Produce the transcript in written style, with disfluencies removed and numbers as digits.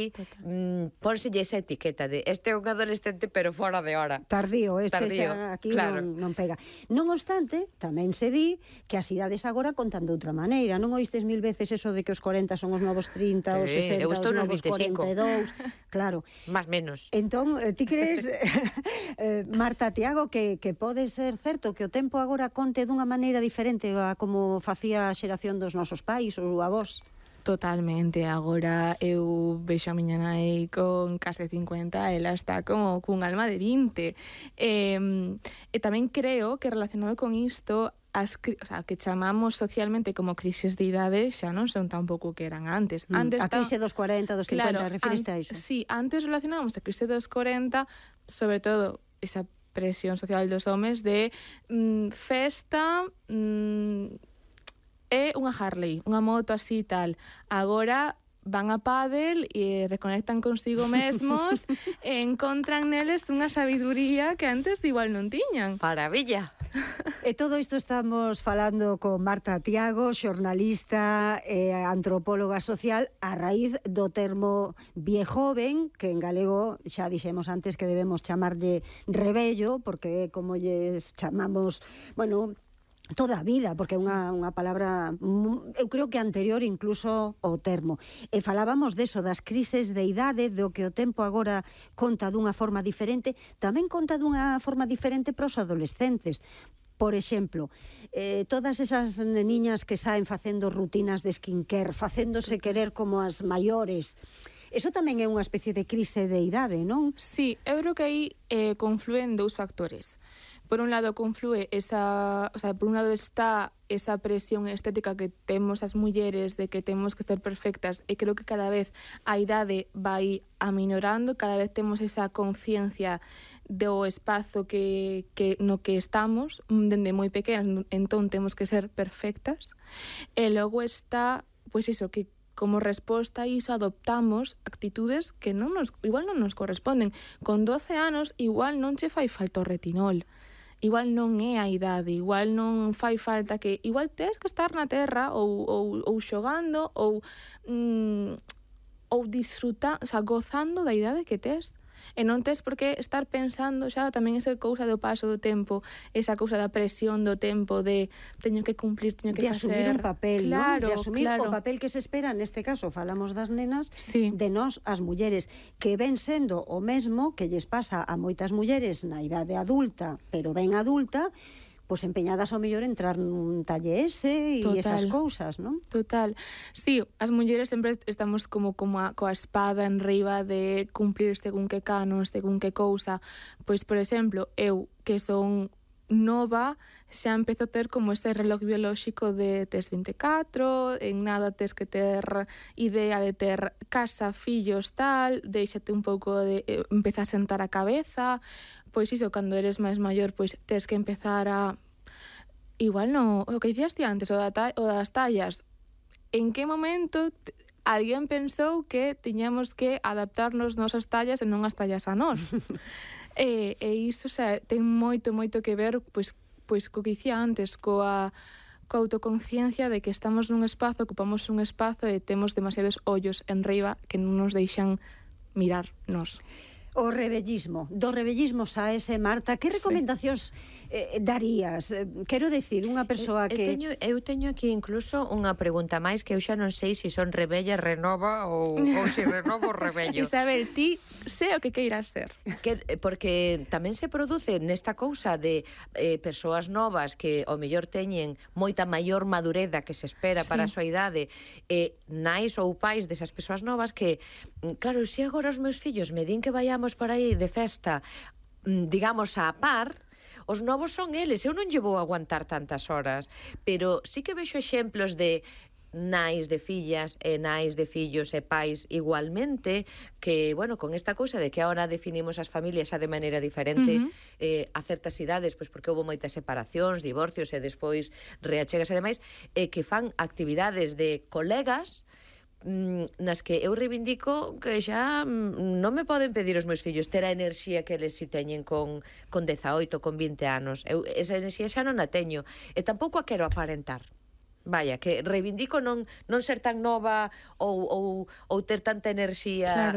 Total. pónselle esa etiqueta de este é un adolescente pero fora de hora. Tardío, Tardío, xa aquí claro. non pega. Non obstante, tamén se di que as idades agora contan de outra maneira. Non oístes mil veces eso de que os 40 son os novos 30, os 60, eu estou os nos novos 25. 42. Claro. Más menos. Entón, ti crees, Marta, Tiago, que pode ser certo que o tempo agora conte dunha maneira diferente a como facía a xeración dos nosos pais ou avós? Totalmente, agora eu vexo a miña nai con case 50, ela está como cun alma de 20. E tamén creo que relacionado con isto, o sea, que chamamos socialmente como crises de idade xa non son tampouco que eran antes. A crise dos 40, dos 50, claro, refiriste a iso? Sí, antes relacionábamos a crise dos 40, sobre todo esa presión social dos homes de festa, é unha Harley, unha moto así tal. Agora van a pádel e reconectan consigo mesmos e encontran neles unha sabiduría que antes igual non tiñan. Maravilla. E todo isto estamos falando con Marta Tiago, xornalista e antropóloga social, a raíz do termo viejoven, que en galego xa dixemos antes que debemos chamarlle rebello, porque como lles chamamos, bueno, toda a vida, porque é unha palabra, eu creo que anterior incluso ao termo. E falábamos deso, das crises de idade, do que o tempo agora conta dunha forma diferente, tamén conta dunha forma diferente para os adolescentes. Por exemplo, todas esas neniñas que saen facendo rutinas de skincare, facéndose querer como as maiores, eso tamén é unha especie de crise de idade, non? Sí, eu creo que aí confluen dous factores. Por un lado conflúe por un lado está esa presión estética que temos as mulleres de que temos que ser perfectas, e creo que cada vez a idade vai aminorando, cada vez temos esa conciencia do espazo que no que estamos, dende moi pequenas, entón temos que ser perfectas. E logo está, pois iso, que como resposta a iso adoptamos actitudes que igual non nos corresponden. Con 12 anos igual non che fai falta o retinol. Igual non é a idade, igual non fai falta que... Igual tes que estar na terra ou xogando ou disfrutando, o sea, gozando da idade que tes. E non tes por que estar pensando xa tamén esa cousa do paso do tempo, esa cousa da presión do tempo de teño que cumplir, teño que de facer... asumir un papel, claro, non? De asumir claro. o papel que se espera, neste caso falamos das nenas, sí, de nós as mulleres, que ven sendo o mesmo que lles pasa a moitas mulleres na idade adulta, pero ben adulta, pois empeñadas ao mellor entrar nun talle ese e esas cousas, non? Total. Sí, as mulleres sempre estamos como coa espada en riba de cumplir según que canos, según que cousa. Pois, por exemplo, eu, que son nova, xa empezo a ter como ese reloj biolóxico de tes 24, en nada tes que ter idea de ter casa, fillos, tal, déixate un pouco de... empeza a sentar a cabeza... Pois iso, cando eres máis maior, pois tes que empezar a... Igual non, o que dicías ti antes, o das tallas. En que momento alguén pensou que tiñamos que adaptarnos nosas tallas e non as tallas a nós? e iso, o sea, ten moito que ver, pois co que dicía antes, coa autoconciencia de que estamos nun espazo, ocupamos un espazo e temos demasiados ollos en riba que non nos deixan mirar nós. O rebellismo. Do rebellismo saese, Marta, que recomendacións darías? Quero decir, unha persoa que... Eu teño aquí incluso unha pregunta máis que eu xa non sei se son rebella, renova ou se renovo rebello. Isabel, ti sei o que queiras ser. Porque tamén se produce nesta cousa de persoas novas que ao mellor teñen moita maior madureza que se espera para a súa idade, nais ou pais desas persoas novas que, claro, se agora os meus fillos me din que vayamos para aí de festa, digamos, a par, os novos son eles, eu non lle vou aguantar tantas horas, pero sí que vexo exemplos de nais de fillas e nais de fillos e pais igualmente que, bueno, con esta cousa de que ahora definimos as familias xa de maneira diferente a certas idades, pois porque houve moitas separacións, divorcios e despois reachegas e demais, que fan actividades de colegas nas que eu reivindico que xa non me poden pedir os meus fillos ter a enerxía que eles si teñen con 18, con 20 anos. Eu esa enerxía xa non a teño e tampouco a quero aparentar. Vaya, que reivindico non ser tan nova ou ter tanta enerxía